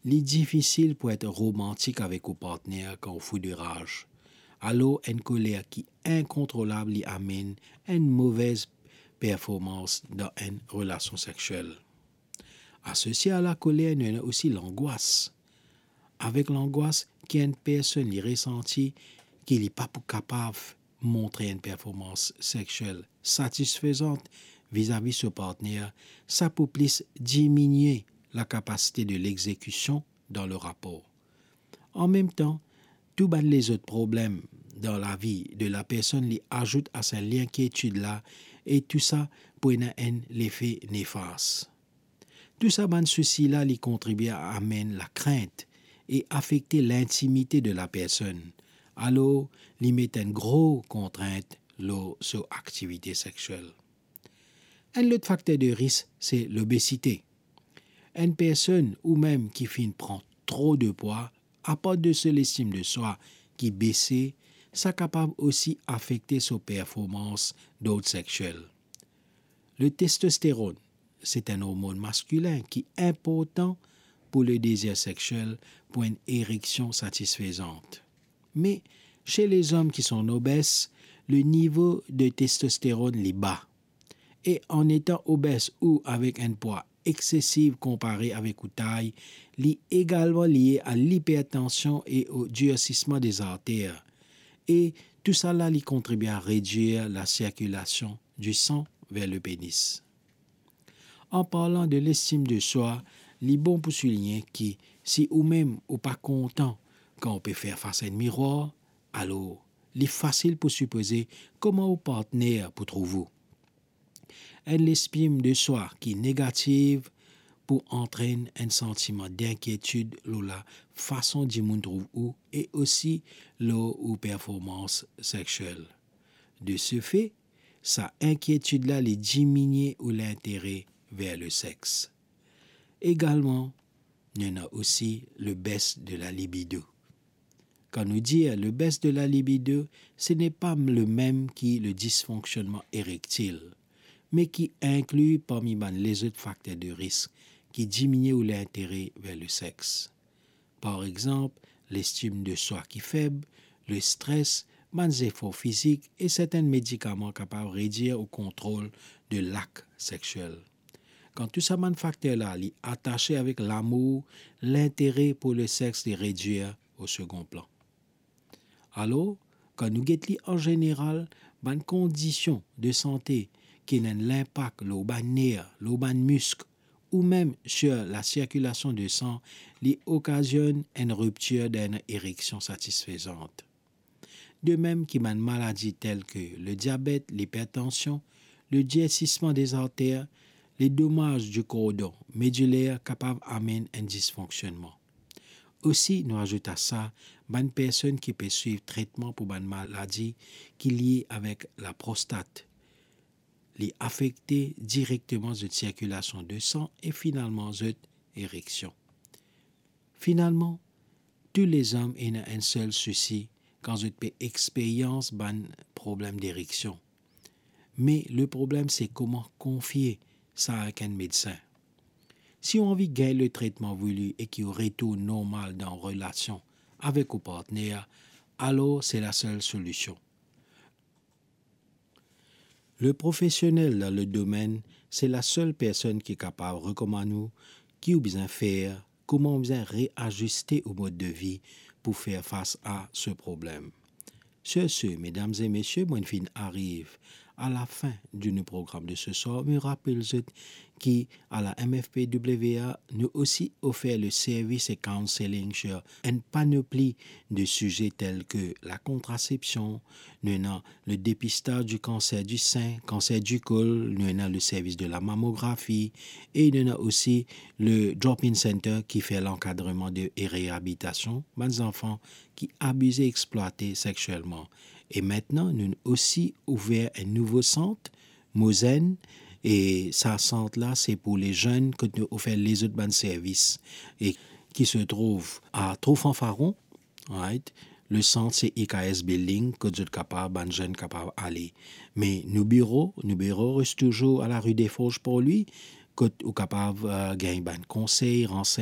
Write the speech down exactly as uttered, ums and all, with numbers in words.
Li difisil pou et romantik avek ou partner kan ou fou de raz. Alor, enn koler ki inkontrolab li amenn enn movez performans dan enn relasion sexiel. Asosie a lakoler, nou ena osi langwas. Avek langwas ki enn personn li resanti ki li pa pou kapav montre enn performans sexiel satisfezan vizavi so partner, sa pou plis diminie lakapasite de lexekision dan le rapor. An mem tan, tou bann lezot problem dan lavi de la personn li azout a sa linkietid la, e tou sa pou ena enn lefe nefas. Tou sa bann sousi la, li kontribie a amenn lakrint e afekte lintimite de la personn. Alor, li met enn gro kontrint lor so aktivite sexiel. Enn lot fakter de risk, se lobesite. Enn personn ou mem ki finn pran tro de pwa, apar de so lestim de swa ki bese, sa kapav osi afekte so performans dord sexiel. Le testosteron, se enn ormonn maskilin ki inportan pou le dezir sexiel, pou enn ereksion satisfezan. Me, se lezom ki son obes, le nivo de testosteron li ba. E an etan obes ou avek enn pwa eksesiv konpare avek ou tay, li egalman lie a lipertansion e o dirsisman dezarter. E tou sa la, li kontribie a redwir lasirkilasion di san ver le penis. An parlan de lestim de swa, li bon pou souligne ki si ou mem ou pa kontan kan ou pe fer fas a enn mirwar, alor li fasil pou sipoze kouma ou partner pou trouv ou. Enn lestim de swa ki negativ pou antrenn enn santiman dinkietid lor lafason dimoun trouv ou e osi lor ou performans sexiel. De se fe, sa inkietid la, li diminie ou lintere ver le sex. Egalman, nou ena osi le bes de la libido. Kan nou dir le bes de la libido, se napa le mem ki le disfonksionman erektil, me ki inkli parmi bann lezot fakter de risk ki diminie ou lintere ver le sex. Par exanp, lestim de swa ki feb, le stres, bann zefor fizik e sertin medikaman kapav redwir ou kontrol de lak sexiel. Kan tou sa bann fakter la, li atase avek lamour, lintere pou le sex li redwir o segon plan. Alor, kan nou get li an zeneral, bann kondision de sante ki ena enn linpak lor bann ner, lor bann misk, ou mem sir lasirkilasion de san, li okazionn enn riptir dan enn ereksion satisfezan. De mem ki bann maladi tel ke le diabet, lipertansion, le dirsisman dezarter, le domaz di kordon mediler kapav amenn enn disfonksionman. Osi, nou azout a sa, bann personn ki pe swiv tretman pou bann maladi ki lie avek laprostat, li afekte direkteman zot sirkilasion de san e finalman zot ereksion. Finalman, tou lezom ena enn sel sousi kan zot pe experyans bann problem dereksion. Me le problem se kouma konfie sa avek enn medsin. Si ou anvi gagn le tretman vouli e ki ou retourn normal dan relasion avek ou partner, alor se lasel solision. Le profesionel dan le domenn, se lasel personn ki kapav rekomann ou ki ou bizin fer, kouma ou bizin reaziste ou mod de vi pou fer fas a se problem. Sur ce, medam e mesie, mo finn ariv a lafin de nou program de se swar. Mo rapel zot ki a la M F P W A, nou osi ofer le servis e counselling sur enn panopli de size tel ke lakontrasepsion, nou ena le depistaz di kanser di sin, kanser di kol, nou ena le servis de la mamografi, e nou ena osi le drop-in center ki fer lankadreman de, e reabilitasion bann zanfan ki abize, explwate sexielman. E aster, nou osi ouver enn nouvo sant, Mozenn, e sa sant la, se pou le zenn, kot nou ofer lezot bann servis, e ki se trouv a Tro Fanfaron, right? Le sant se I K S Building, kot zot kapav, bann zenn kapav ale. Me nou biro, nou biro res touzour a la rue des Forges Port-Louis, kot ou kapav, eh, gagn bann konsey, ransegn-,